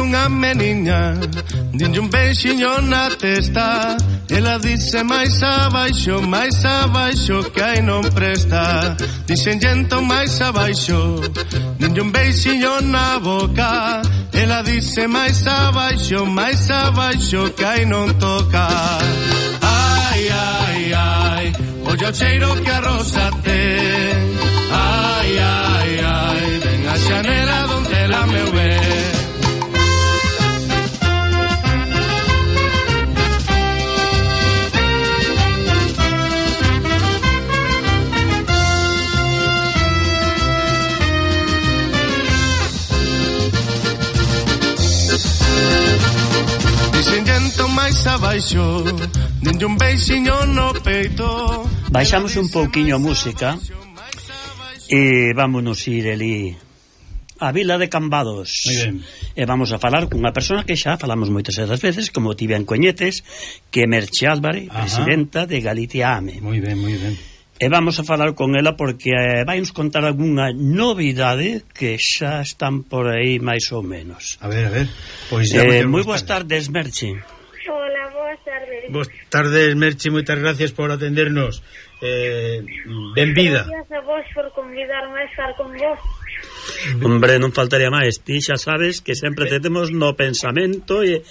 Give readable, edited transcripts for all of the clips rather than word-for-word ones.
unha meniña, dinlle un beixiño na testa. Ela dice máis abaixo, que aí non presta. Dixen entón máis abaixo, dinlle un beixiño na boca. Ela dice máis abaixo, que aí non toca. Ai, ai, ai, olla o cheiro que a rosa ten. Ai, ai, ai, ven a xanela donde la meu ver. Máis abaixo, dinlle un beixiño no peito. Baixamos un pouquiño a música e vámonos ir ali a Vila de Cambados. E vamos a falar cunha persona que xa falamos moitas veces, como ti ben coñetes, que é Merche Álvarez, presidenta de Galicia AME. Moi ben. E vamos a falar con ela porque vai nos contar algunha novidade que xa están por aí máis ou menos. A ver. Pois moi boas tardes, Merche. Hola, boas tardes. Boas tardes, Merche, moitas gracias por atendernos. Benvida. Gracias a vos por convidarme a estar con vos. Hombre, non faltaría máis. Ti xa sabes que sempre te temos no pensamento e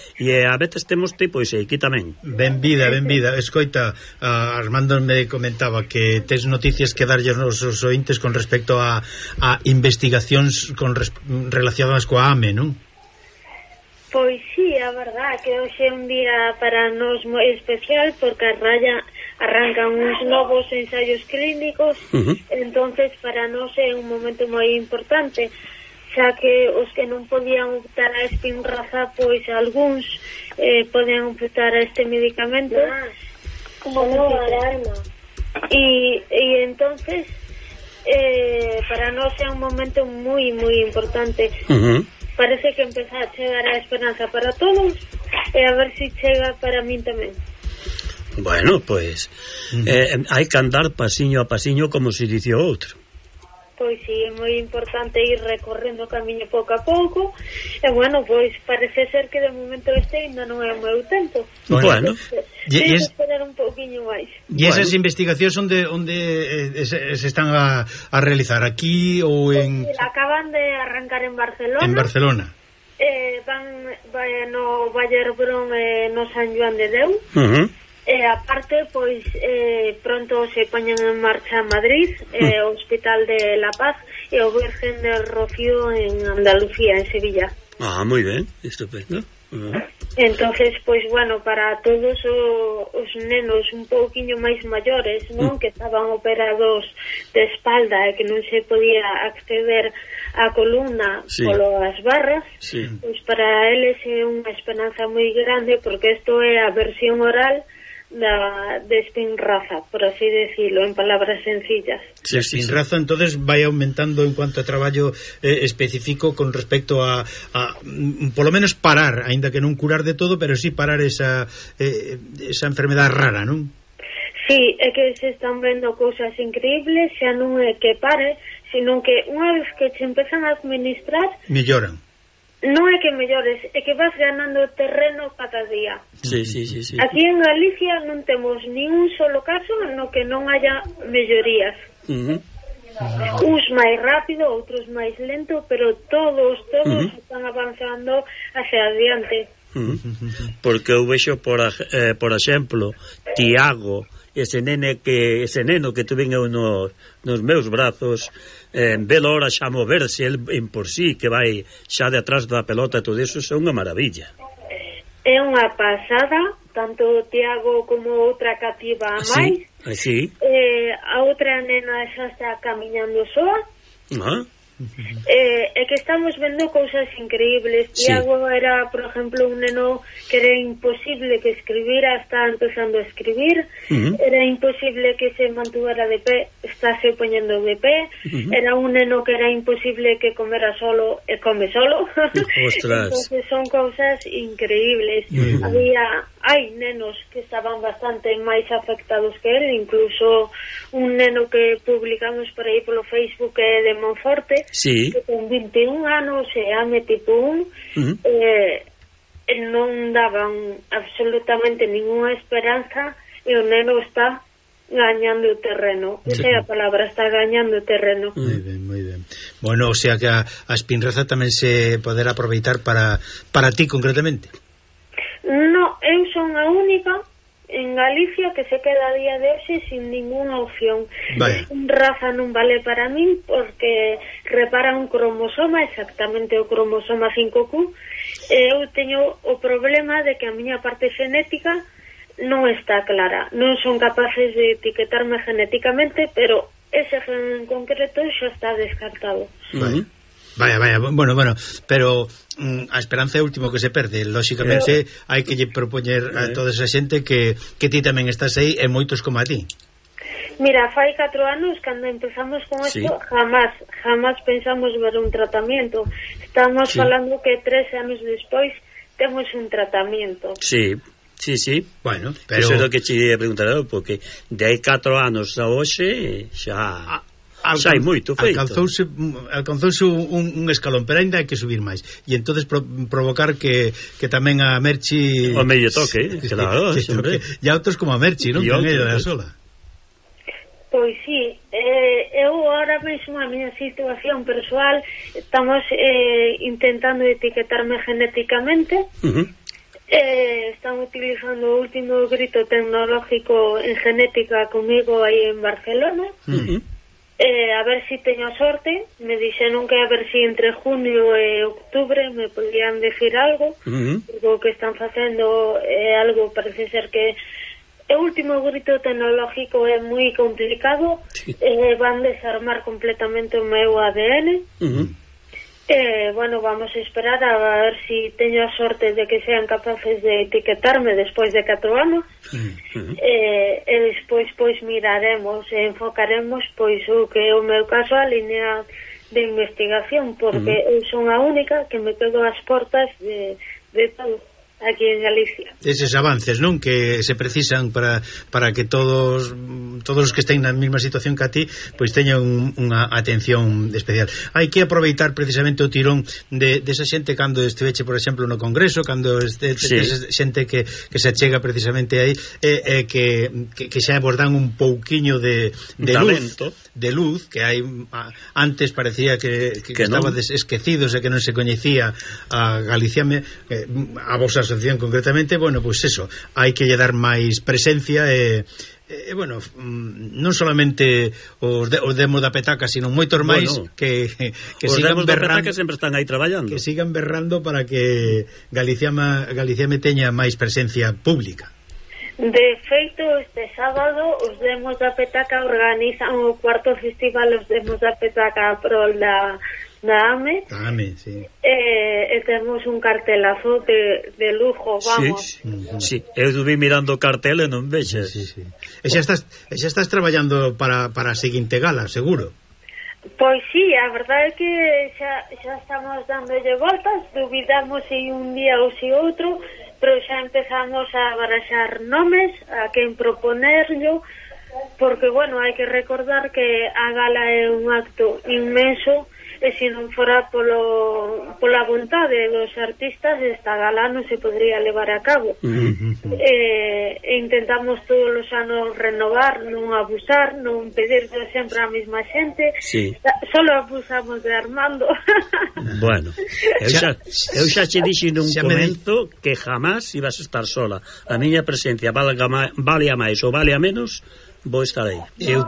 a veces temos tipo e aquí tamén. Benvida. Escoita, Armando me comentaba que tes noticias que darlle aos ointes con respecto a investigacións relacionadas coa AME, non? Pois sí, a verdad que hoxe é un día para nós moi especial porque a Raya arrancan uns novos ensaios clínicos. Entonces para nós é un momento moi importante, xa que os que non podían optar a Spinraza, pois algúns poden optar a este medicamento como alarma. E entonces para nós é un momento moi importante. Parece que empeza a chegar a esperanza para todos e a ver se chega para min tamén. Bueno, pois hai que andar pasiño a pasiño, como se dice o outro. Pois sí, é moi importante ir recorrendo o camiño pouco a pouco. E bueno, pois parece ser que de momento este ainda non é o meu tempo. Bueno, teño que esperar un pouquiño máis. E esas investigacións onde se están a realizar? Aquí ou en... Acaban de arrancar en Barcelona. En Barcelona. Van no Valle Hebrón e no San Joan de Deu. E aparte, pois pronto se poñen en marcha Madrid, o Hospital de La Paz e o Virgen del Rocío en Andalucía, en Sevilla. Moi ben, estupendo. Entonces, pois bueno, para todos os nenos un pouquiño máis maiores, non, que estaban operados de espalda e que non se podía acceder á columna polas barras, pois para eles é unha esperanza moi grande porque isto é a versión oral de Spinraza, por así decirlo, en palabras sencillas. Spinraza entonces vai aumentando en cuanto a traballo específico con respecto a polo menos parar, aínda que non curar de todo, pero sí parar esa enfermedade rara, non? Sí, é que se están vendo cousas increíbles, xa non é que pare, sino que unha vez que se empezan a administrar melloran. Non é que mellores, é que vas ganando terreno cada día. Sí. Aquí en Galicia non temos ni un solo caso no que non haya mellorías. Uns máis rápido, outros máis lento, pero todos están avanzando hacia adiante. Porque eu vexo, por exemplo, Tiago, ese neno que tuven eu nos meus brazos, velo ahora xa moverse el en por sí, que vai xa de atrás da pelota e todo iso, é unha maravilla. É unha pasada, tanto Tiago como outra cativa a máis. Sí. A outra nena xa está camiñando soa. É que estamos vendo cousas increíbles. Tiago era, por exemplo, un neno que era imposible que escribira, está empezando a escribir. Era imposible que se mantuvera de pé, está se poñendo de pé. Era un neno que era imposible que comera solo e come solo. Entonces son cousas increíbles. Había hai nenos que estaban bastante máis afectados que el, incluso un neno que publicamos por aí polo Facebook de Monforte, sí, que con 21 anos e AME tipo 1, non daban absolutamente ninguna esperanza, e o neno está gañando o terreno. Esa é a palabra, está gañando o terreno. Moi ben, moi ben. Bueno, o sea que a espinraza tamén se poderá aproveitar para ti concretamente. No, eu son a única en Galicia que se queda a día de hoxe sin ninguna opción. Raza non vale para min porque repara un cromosoma, exactamente o cromosoma 5Q. Eu teño o problema de que a miña parte genética non está clara. Non son capaces de etiquetarme genéticamente, pero ese gen en concreto xa está descartado. Vaya, bueno, pero a esperanza é o último que se perde. Lóxicamente hai que lle propoñer a toda esa xente que ti tamén estás aí e moitos como a ti. Mira, fai 4 anos cando empezamos con isto, jamás pensamos ver un tratamento. Estamos falando que 3 anos despois temos un tratamento. Sí. Bueno, pero eso é o que che ia preguntar, porque de hai 4 anos a hoxe xa hai moito feito. Alcanzouse un escalón, pero ainda hai que subir máis. E entonces provocar que tamén a Merchi o medio toque, claro, sempre. E a outros como a Merchi, non? En ella da sola. Pois sí, eu ahora mesmo a miña situación persoal estamos intentando etiquetarme genéticamente. Están utilizando o último grito tecnológico en genética comigo aí en Barcelona. A ver si teño sorte. Me dixeron que a ver si entre junio e octubre me podían decir algo, porque o que están facendo é algo, parece ser que o último grito tecnológico é moi complicado. Van desarmar completamente o meu ADN. Bueno, vamos a esperar a ver si teño a sorte de que sean capaces de etiquetarme despois de 4 anos. E despois pois miraremos e enfocaremos pois o que é o meu caso, a línea de investigación, porque eu son a única que me quedo ás portas de todo aquí en Galicia. Eses avances, non? Que se precisan para que todos os que estén na mesma situación que a ti pois teñan unha atención especial. Hai que aproveitar precisamente o tirón de esa xente cando esteveche, por exemplo, no Congreso, cando xente que se achega precisamente aí, que xa vos dan un pouquiño de luz, que hai antes parecía que estabades esquecidos e que non se coñecía a Galiciame, a vosa asociación concretamente. Bueno, pois eso, hai que lle dar máis presencia e bueno, non solamente os demos da petaca, sino moitos máis que sigan berrando, sempre están aí traballando, que sigan berrando para que Galicia me teña máis presencia pública. De feito, este sábado os demos da petaca organizan o 4º festival os demos da petaca prol da AME, sí. E temos un cartelazo de lujo, vamos. Sí, eu vi mirando o cartel e non vexes. Sí. E xa estás traballando para a seguinte gala, seguro. Pois sí, a verdade é que xa estamos dándolle voltas, duvidamos se un día ou se outro, pero xa empezamos a baraxar nomes, a quen proponerlo, porque, bueno, hai que recordar que a gala é un acto inmenso, e se non fora pola vontade dos artistas, esta gala non se podría levar a cabo. Intentamos todos os anos renovar, non abusar, non pedir sempre a mesma xente. Solo abusamos de Armando. Bueno, eu xa che dixi nun comento que jamás ibas a estar sola. A miña presencia vale a máis ou vale a menos, vou estar aí. Eu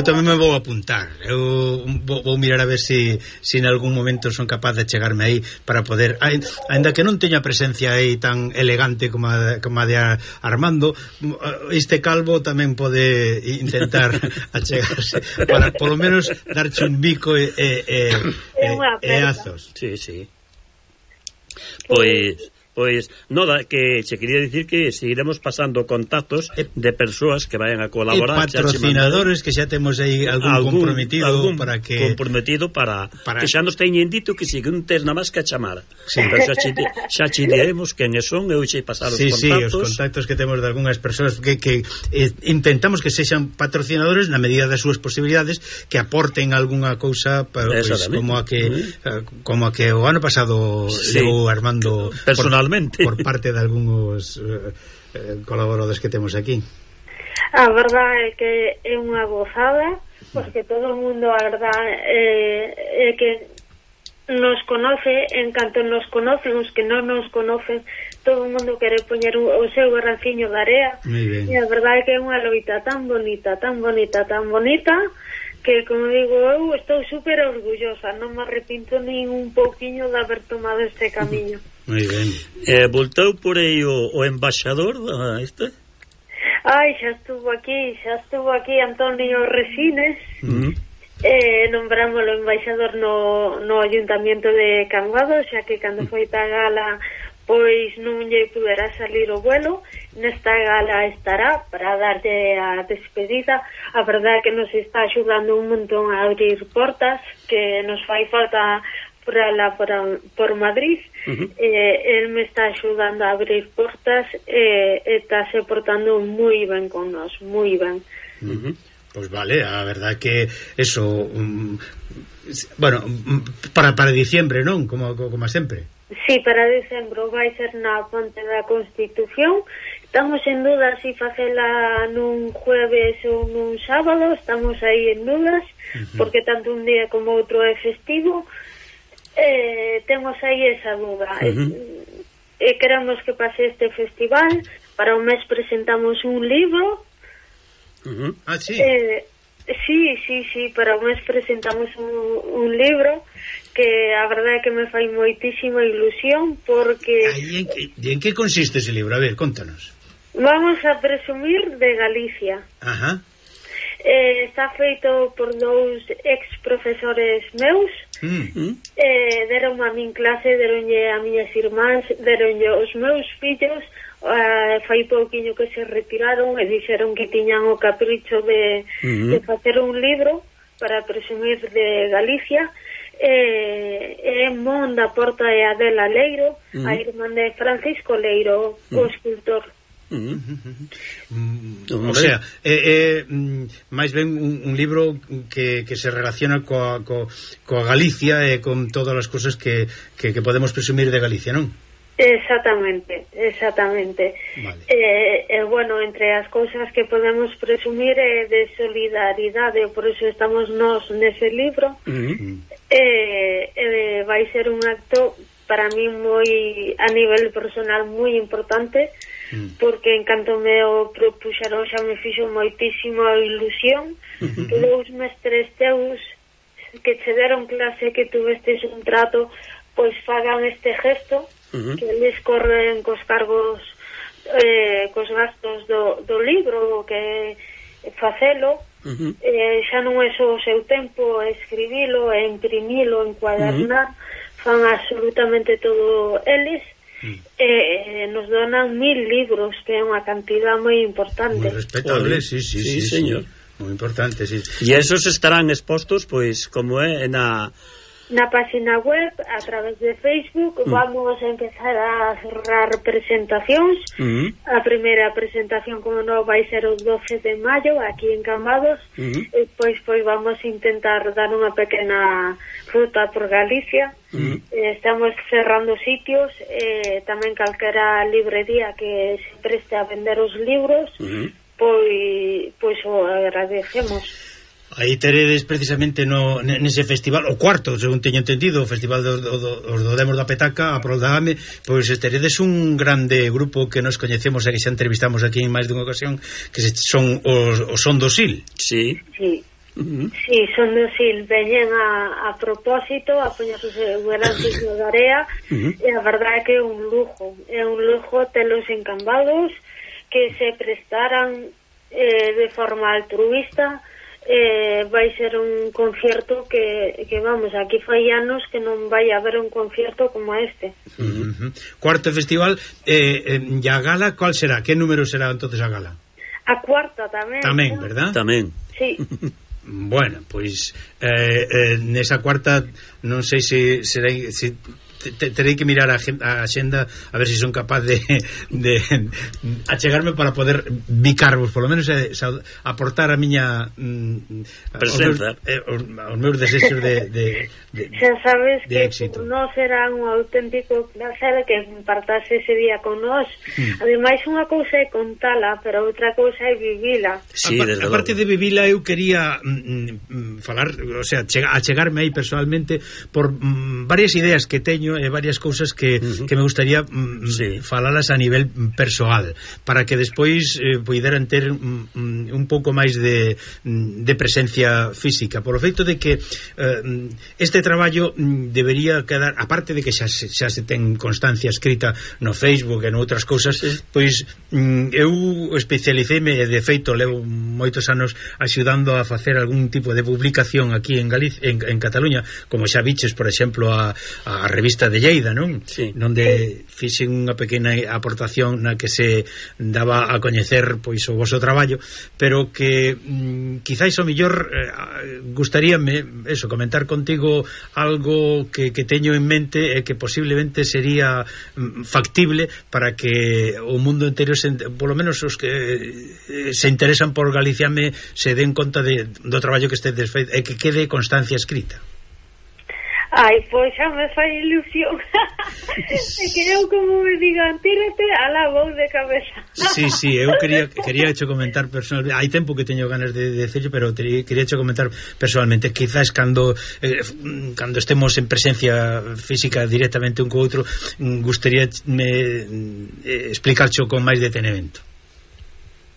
tamén me vou apuntar. Eu vou mirar a ver se en algún momento son capaz de chegarme aí para poder, ainda que non teña presencia aí tan elegante como a de Armando, este calvo tamén pode intentar achegarse para polo menos darche un bico e azos. Sí. Pois Pois, noda, que che quería dicir que seguiremos pasando contactos de persoas que vayan a colaborar. E patrocinadores que xa temos aí algún comprometido para que... Comprometido para que xa nos teñen dito que si un tes na máis que a chamar. Sí. Pero xa che diremos quen son, eu che pasar os contactos. Sí, os contactos que temos de algunhas persoas que intentamos que sexan patrocinadores na medida das súas posibilidades, que aporten algunha cousa pues, como a que o ano pasado llegou Armando personalmente por parte de algúns colaboradores que temos aquí. A verdade é que é unha gozada, porque todo o mundo, a verdade é que nos conoce, en canto nos conocen, os que non nos conocen, todo o mundo quere poñer o seu garranciño de area, e a verdade é que é unha loita tan bonita, que, como digo, eu estou super orgullosa, non me arrepinto nin un pouquiño de haber tomado este camiño. Moi ben. Voltou por aí o embaixador este? Ai, xa estuvo aquí Antonio Resines. Nombramos o embaixador no Ayuntamiento de Cambados, xa que cando foi ta gala pois non lle puderá salir o vuelo. Nesta gala estará para darlle a despedida. A verdade é que nos está axudando un montón a abrir portas, que nos fai falta por Madrid. El me está axudando a abrir portas e está se portando moi ben con nós, moi ben. Pois vale, a verdade que eso bueno, para diciembre, non? Como sempre. Sí, para decembro vai ser na Ponte da Constitución. Estamos en dudas se facela nun jueves ou nun sábado. Estamos aí en dudas, porque tanto un día como outro é festivo. Temos aí esa duda. Queremos que pase este festival. Para un mes presentamos un libro. Sí. Sí, para un mes presentamos un libro que a verdade é que me fai moitísima ilusión, porque... en que consiste ese libro? A ver, contanos. Vamos a presumir de Galicia. Está feito por dous ex-profesores meus. Deron a min clase, deronlle a miñas irmáns, deronlle os meus fillos. Fai pouquiño que se retiraron e dixeron que tiñan o capricho de facer un libro para presumir de Galicia. Mon da Porta e Adela Leiro, a irmán de Francisco Leiro, o escultor. O sea, máis ben un libro que se relaciona coa Galicia e con todas as cosas que podemos presumir de Galicia, non? Exactamente. Vale. Bueno, entre as cousas que podemos presumir é de solidaridade, por eso estamos nós nese libro. Vai ser un acto para mí moi, a nivel personal, moi importante, porque en canto me o propuxeron xa me fixo moitísima ilusión que dous mestres teus que che deron clase, que tuvestes un trato, pois fagan este gesto, que eles corren cos cargos, cos gastos do libro, que facelo. Xa non é só o seu tempo escribilo, imprimilo, encuadernar, fan absolutamente todo eles. Nos donan 1000 libros, que é unha cantidad moi importante. Moi respetable, sí, señor. Moi importante, sí. E esos estarán expostos, pois, como é na página web, a través de Facebook. Vamos a empezar a cerrar presentacións. A primeira presentación, como non, vai ser o 12 de maio aquí en Cambados. Pois vamos a intentar dar unha pequena ruta por Galicia. Estamos cerrando sitios, tamén calquera librería que se preste a vender os libros, pois o agradecemos. Aí teredes precisamente nese festival, o cuarto, según teño entendido, o festival dos do Demos da Petaca, a prol da AME, pois teredes un grande grupo que nos coñecemos e que xa entrevistamos aquí en máis dunha ocasión, que son os Son do Sil. Sí, Son do Sil veñen a propósito a poñerse o garantizo da area, e a verdade é que é un lujo telos en Cambados, que se prestaran de forma altruista vai ser un concierto que vamos, aquí fai anos que non vai haber un concierto como este. Cuarto festival, e a gala, ¿cuál será? Que número será entonces a gala? A cuarta tamén. Tamén, verdad? Tamén. Sí. Bueno, pois nesa cuarta non sei se será, se terei que mirar a xenda a ver se son capaz de achegarme para poder bicarvos, polo menos aportar a miña presenza, os meus desexos de xa sabes de que éxito. non será un auténtico placer que compartase ese día con nós. Ademais, unha cousa é contala, pero outra cousa é vivila. Sí, a parte de vivila, eu quería falar, o sea, achegarme aí personalmente por varias ideas que teño e varias cousas que me gustaría falalas a nivel persoal, para que despois poideran ter un pouco máis de presencia física, por o feito de que este traballo debería quedar, aparte de que xa se ten constancia escrita no Facebook e noutras cousas, pois eu especialiceime, de feito levo moitos anos axudando a facer algún tipo de publicación aquí en Galicia, en Cataluña, como xa viches, por exemplo, a revista de Lleida, non? Sí. Donde fixen unha pequena aportación na que se daba a coñecer pois o voso traballo, pero que quizáis o mellor gustaríame eso, comentar contigo algo que teño en mente e que posiblemente sería factible para que o mundo entero, polo menos os que se interesan por Galicia, se den conta do traballo que estedes feito e que quede constancia escrita. Ai, pois xa me fai ilusión. E que eu, como me digan, tírate, ala, vou de cabeza. Sí, eu quería hecho comentar personalmente. Hai tempo que teño ganas de decirlo, pero quería hecho comentar personalmente. Quizás cando estemos en presencia física directamente un co outro, gustaría explicarcho con máis detenimento.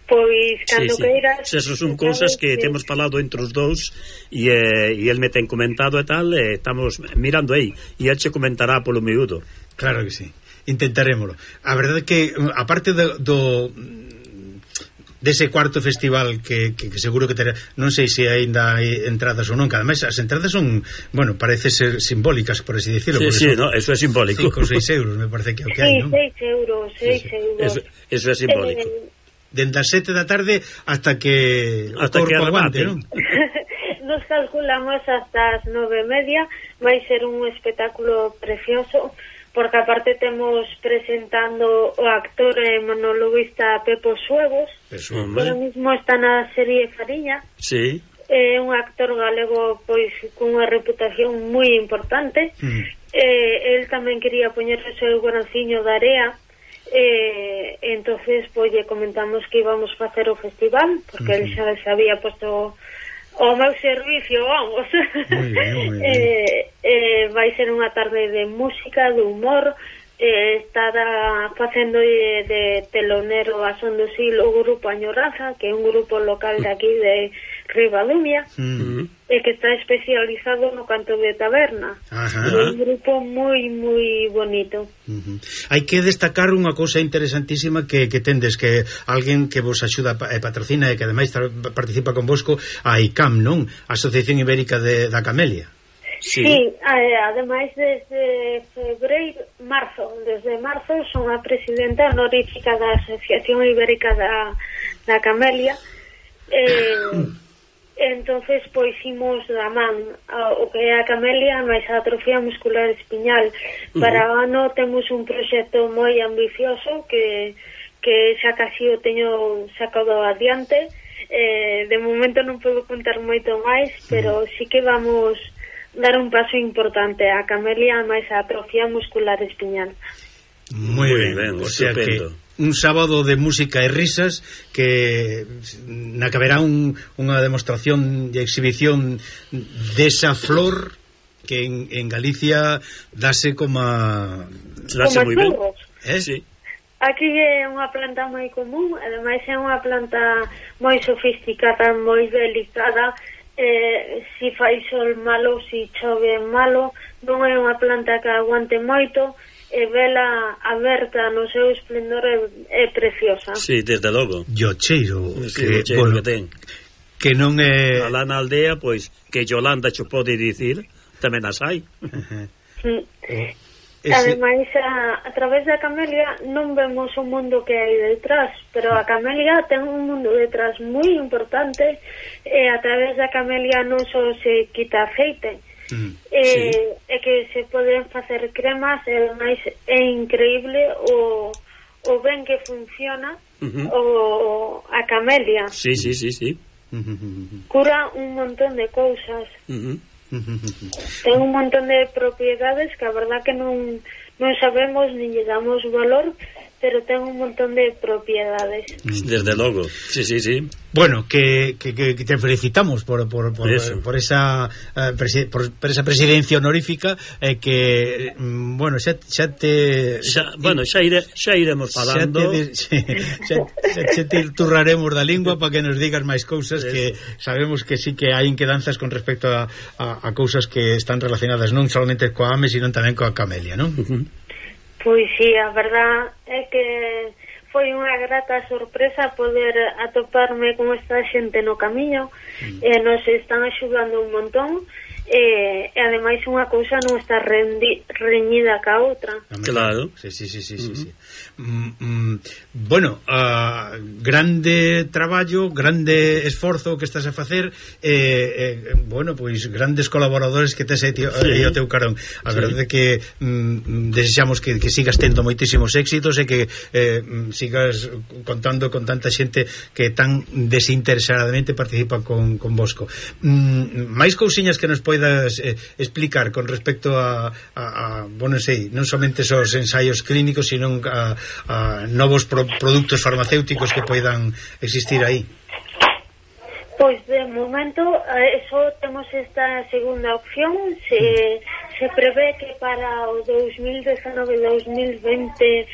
Pois, cando queiras... Esas son cousas que temos falado entre os dous e el me ten comentado e tal, e estamos mirando aí, e el che comentará polo miúdo. Claro que sí, intentarémoslo. A verdade é que, aparte dese cuarto festival que seguro que terá, non sei se aínda hai entradas ou non, que ademais as entradas son, bueno, parece ser simbólicas, por así decirlo. Sí, no, eso é simbólico. 5 ou 6 euros, me parece que é o que hai, non? 6 euros. Eso é simbólico. Dende as 7 da tarde hasta que o corpo aguante, non? Nos calculamos hasta as 9:30. Vai ser un espectáculo precioso, porque aparte temos presentando o actor e monologuista Pepo Suevos, que ahora mismo está na serie Fariña. Sí. É un actor galego pois con unha reputación moi importante. El tamén quería poñer o seu grociño de area. Entonces pues lle comentamos que íbamos a facer o festival, porque él xa se había puesto o meu servicio, vamos. Muy bien. Vai ser unha tarde de música, de humor. Estará facendo de telonero a son do Sil o grupo Añoraza, que é un grupo local de aquí de Ribadumia, e que está especializado no canto de taberna. É un grupo moi moi bonito. Hai que destacar unha cousa interesantísima que tendes, que alguén que vos axuda e patrocina e que ademais participa convosco, a ICAM, non? A Asociación Ibérica da Camelia. Sí, ademais desde marzo son a presidenta honorífica da Asociación Ibérica da Camelia. Entonces pois imos da man o que é a Camelia máis a atrofia muscular espiñal. Para o ano temos un proxecto moi ambicioso que xa casi o teño sacado adiante. De momento non podo contar moito máis, pero sí que vamos dar un paso importante a Camelia máis a atrofia muscular espiñal. Moi ben, o sea que un sábado de música e risas, que na que haberá unha demostración e exhibición desa flor que en Galicia dase como moi ben. Sí. Aquí é unha planta moi común, ademais é unha planta moi sofisticada, moi delicada. Si fai sol malo, si chove malo, non é unha planta que aguante moito, e vela aberta no seu esplendor é preciosa. Sí, desde logo. Yo cheiro que ten. que non é... Alá na aldea, pois, que Yolanda xo pode dicir, tamén as hai. Ademais, a través da camelia non vemos o mundo que hai detrás, pero a camelia ten un mundo detrás moi importante, e a través da camelia non só se quita aceite, e que se poden facer cremas, e ademais é increíble o ben que funciona a camelia. Sí. Cura un montón de cousas. Ten un montón de propiedades que a verdad que non sabemos ni lle damos valor, pero ten un montón de propiedades. Desde logo, sí. Bueno, que te felicitamos por esa presidencia honorífica, que bueno, xa iremos falando. Xa te turraremos da lingua para que nos digas máis cousas, que sabemos que sí que hai inquedanzas con respecto a cousas que están relacionadas non solamente coa AME, sino tamén coa camelia, non? Pois sí, a verdad é que foi unha grata sorpresa poder atoparme con esta xente no camiño, e nos están axudando un montón, e ademais unha cousa non está reñida ca outra. Claro. Sí. Bueno, grande traballo, grande esforzo que estás a facer, bueno, pois grandes colaboradores que tes aí ao teu carón. A verdade é que desexamos que sigas tendo moitísimos éxitos, e que sigas contando con tanta xente que tan desinteresadamente participa con vosco. Máis cousiñas que nos poidas explicar con respecto a bueno, sei, non somente os ensaios clínicos, sino a novos produtos farmacéuticos que poidan existir aí? Pois de momento só temos esta segunda opción. Se prevé que para o 2019-2020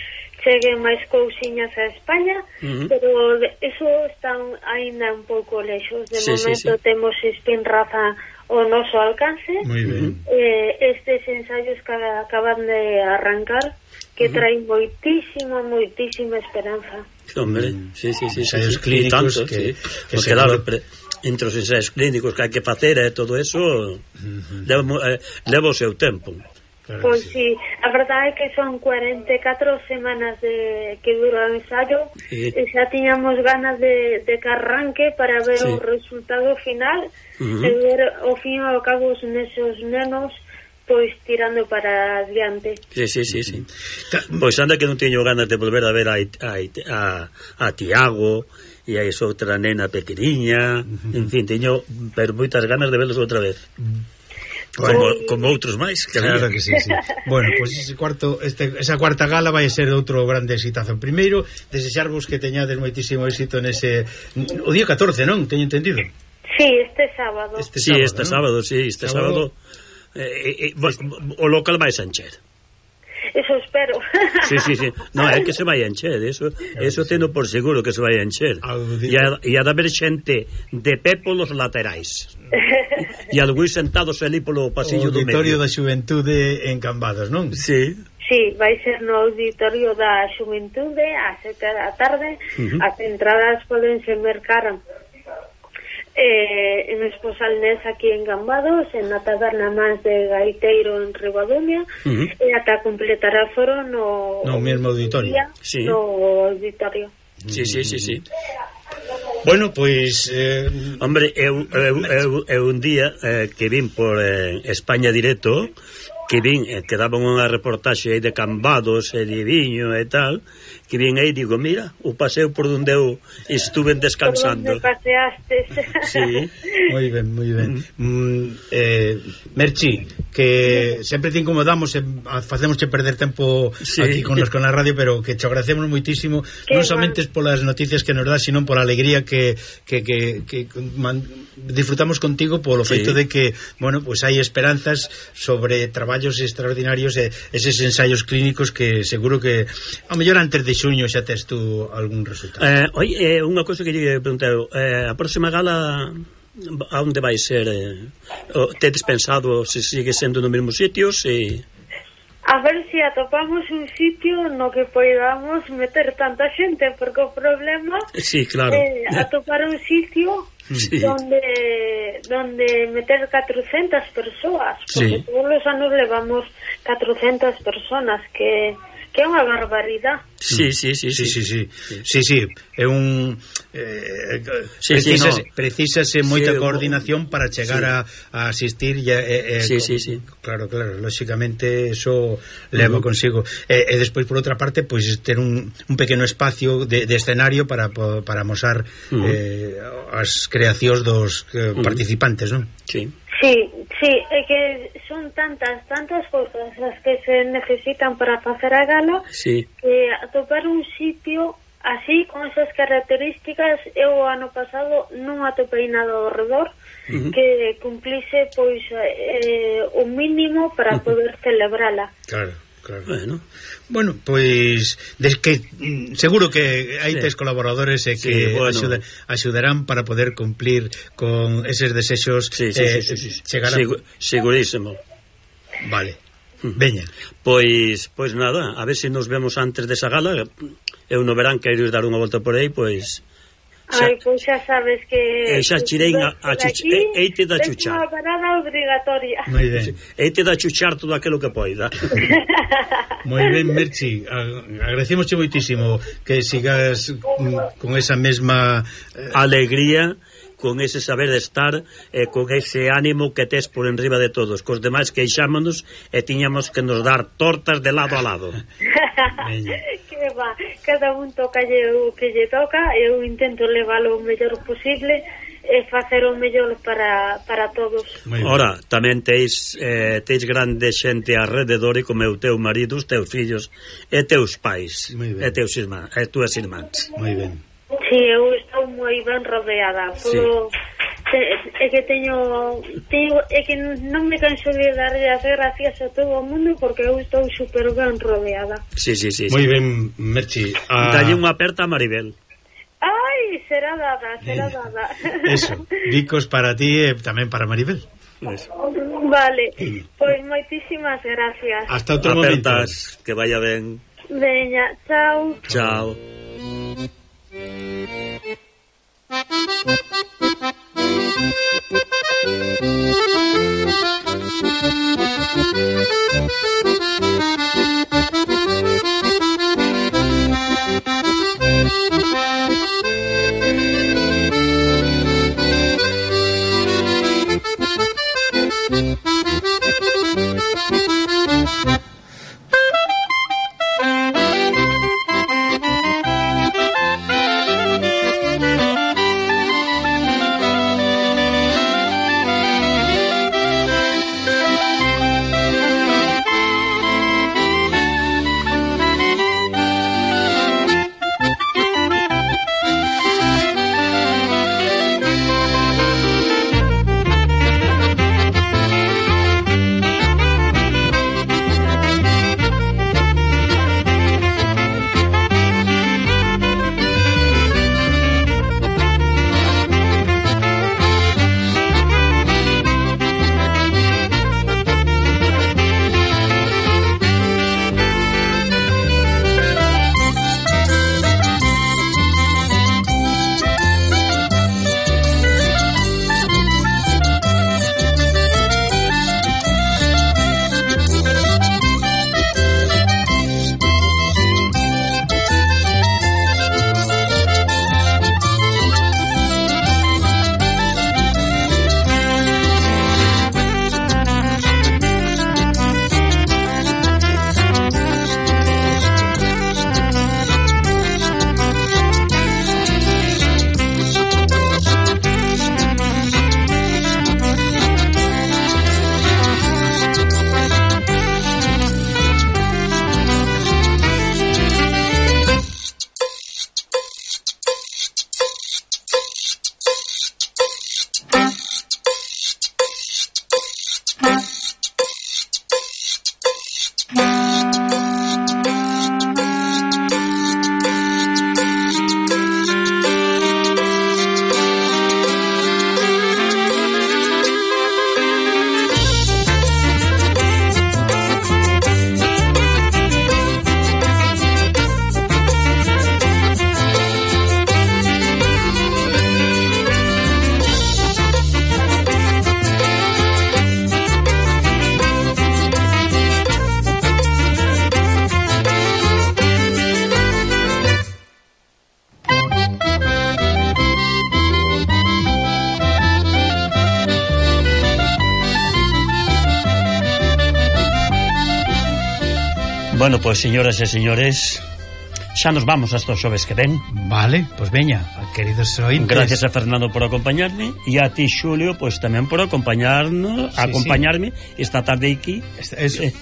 cheguen máis cousiñas a España, pero eso está aínda un pouco lexos. De momento temos Spinraza ao noso alcance. Moi ben. Estes ensaios que acaban de arrancar, que traen moitísima esperanza. Hombre, sí. Ensaios clínicos que claro, entre os ensaios clínicos que hai que facer e todo eso leva o seu tempo. Pois sí, a verdade é que son 44 semanas que dura o ensayo, e xa tiñamos ganas de que arranque para ver o resultado final, e ver ao fin e ao cabo os nesos nenos pois tirando para adiante. Sí. Pois anda que non teño ganas de volver a ver a Tiago e a esa outra nena pequeniña, en fin, teño pero moitas ganas de verlos outra vez. Como outros máis que claro que sí. Bueno, pois esa cuarta gala vai ser outro grande exitazo. Primeiro, desexarvos que teñades moitísimo éxito nese o día 14, non? Teño entendido. Sí, este sábado. Este sábado o local vai encher. Eso espero. Sí. Non, é que se vai encher, eso teno por seguro que se vai encher. E ha de haber xente de pé polos laterais. E algúns sentados ali polo pasillo do medio. O Auditorio da Xuventude en Cambados, non? Sí, vai ser no Auditorio da Xuventude a 7 da tarde. As entradas podense mercar en Esposalnés aquí en Cambados, en la taberna máis de Gaiteiro en Ribadumia, e ata completar a foro no mesmo auditorio. No auditorio. Sí. Bueno, pois hombre, eu un día que vin por España Directo, que vin que daban unha reportaxe aí de Cambados e de Viño e tal, que vin aí, digo, mira, o paseo por onde eu estuve descansando. Por onde paseastes. Sí. Moi ben. Merchi, que sempre te incomodamos e facémosche perder tempo aquí con a radio, pero que te agradecemos moitísimo, non somente polas noticias que nos das, sino pola alegría que disfrutamos contigo, polo feito de que, bueno, pues hai esperanzas sobre traballos extraordinarios e eses ensaios clínicos que seguro que a mellor antes de xuño xa tes tú algún resultado. Oye, unha cousa que lle preguntar, a próxima gala a onde vai ser? Tedes pensado se sigue sendo no mesmo sitio? a ver se atopamos un sitio no que podamos meter tanta xente, porque o problema é atopar un sitio donde meter 400 persoas, porque todos os anos levamos 400 personas, que é unha barbaridade. Sí, é un precisase moita coordinación para chegar a asistir claro, lógicamente eso leva consigo e despois por outra parte pois ter un pequeno espacio de escenario para amosar as creacións dos participantes, non? Sí, é que son tantas cousas as que se necesitan para facer a gala, que atopar un sitio así, con esas características, eu ano pasado non atopei nada ao redor que cumplise pois o mínimo para poder celebrala. Claro. Bueno, pois que seguro que hai tes colaboradores e que axudarán para poder cumplir con eses desexos. Chegar segurísimo. Vale, veña. Pois nada, a ver se nos vemos antes desa gala. Eu no verán quero ir dar unha volta por aí, pois pois xa sabes que xa chirei eite da chuchar. É unha parada obrigatoria. Moi ben. Eite da chuchar todo aquilo que poida. Moi ben, Merchi, agradecemosche moitísimo que sigas con esa mesma alegría, con ese saber de estar e con ese ánimo que tes por enriba de todos. Cos demais queixámonos e tiñamos que nos dar tortas de lado a lado. Que va, cada un toca o que lle toca, eu intento leválo o mellor posible e facer o mellor para todos. Ora, tamén teis grande xente alrededor e como o teu marido, os teus fillos e teus pais e teus irmáns, e túas irmáns. Moi ben. Sí, eu estou moi ben rodeada é que teño é que non me canso de darlle as gracias a todo o mundo porque eu estou super ben rodeada. Sí. Moi ben, Merchi. Dalle unha aperta a Maribel. Ai, será dada. Eso, bicos para ti e tamén para Maribel. Eso. Vale, pois moitísimas gracias. Hasta outro momento. Que vaya ben. Veña, chao. Chao. Bueno, pois, señoras e señores, xa nos vamos hasta os xoves que ven. Vale, pois veña, queridos ointes. Gracias a Fernando por acompañarme e a ti, Xulio, pois tamén por acompañarme esta tarde aquí.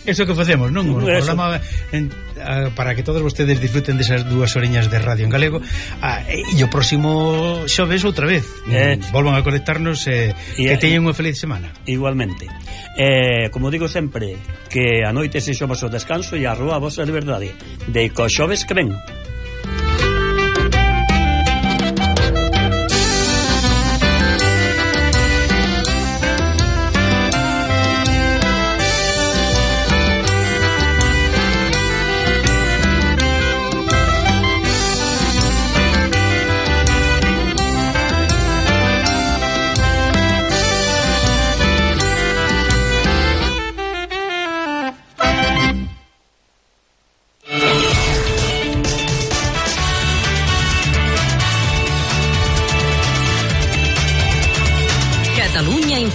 Eso que facemos, non? Un programa para que todos vostedes disfruten desas 2 horiñas de radio en galego. E o próximo xoves outra vez volvan a conectarnos e teñen unha feliz semana. Igualmente. Como digo sempre, que a noite se xo vosso descanso e a rúa a vosa liberdade. De co xoves que ven.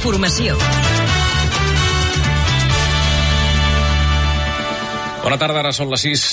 Informació. Bona tarda, ara són les 6.